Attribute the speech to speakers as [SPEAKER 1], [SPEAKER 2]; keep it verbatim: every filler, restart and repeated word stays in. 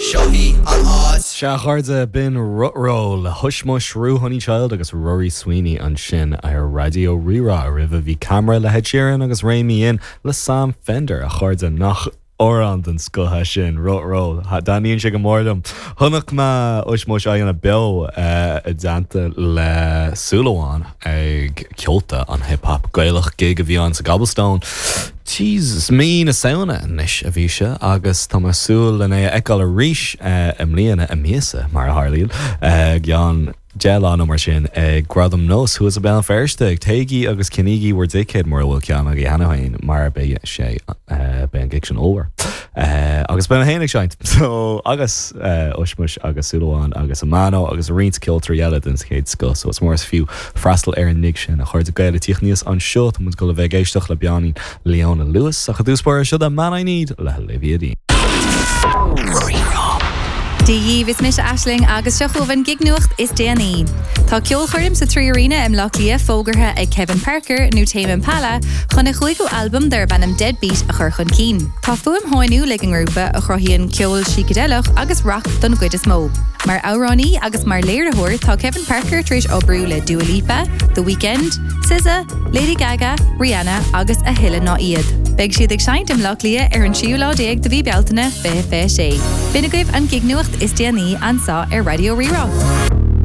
[SPEAKER 1] Seo í an áit.
[SPEAKER 2] Sea, a chairde, b'in Rutroll le Hushmush, Honeychild agus Rory Sweeney ansin ar Raidió Rí-Rá. Roimhe bhí Camera le Ed Sheeran agus Rein Me In le Sam Fender. A chairde, nach amhrán den scoth é sin, Rutroll. Taitníonn sé go mór liom. Chonaic mé Hushmush aghaidh beo i dteannta le Súil Amháin ag Ceolta an Hip Hop Gaelach gig a bhí ann sa Gobblestone. Jesus mí na Samhna anois a bhí sé agus tá mé ag súil lena é a fheiceáil arís i mbliana i míosa mar a tharlaíonn ceann deich lá nó mar sin ag Gradam Nós thuas i Béal Feirste. Téigí agus ceannaígí bhur dticéad mura bhfuil ceann agaibh cheana féin mar beidh sé beidh an gig sin ollmhór. Agus beidh mé féin ag seinnt so agus Hushmush agus Súil Amháin agus Amano agus roinnt ceoltóirí eile den chéad scoth, so is mór is fiú freastal ar an ngig sin. A chairde Gael ag tíocht aníos anseo tá muid ag dul a bheith ag éisteacht le beagáinín Leona Lewis ach i dtús báire seo The Man I Need le Olivia Dean.
[SPEAKER 3] Dia dhaoibh, is mise Aisling agus seo chugaibh an gig-nuacht is déanaí. Tá ceolchoirm sa Trí Arena i mBleá Cliath fógartha ag Kevin Parker nó Tame Impala chun a chúigiú albam darb ainm Deadbeat a chur chun cinn. Tá fuaim shainiúil ag an ngrúpa a chruthaíonn ceol sícideileach agus rac don gcuid is mó. Mar amhránaí agus mar léiritheoir tá Kevin Parker tar éis oibriú le Dua Lipa, The Weeknd, SZA, Lady Gaga, Rihanna agus a thuilleadh ná iad. Beidh siad ag seinnt i mBleá Cliath ar an tríú lá déag de mhí Bealtaine fiche fiche sé. B'in agaibh an gig-nuacht is déanaí anseo ar Raidió Rí-Rá.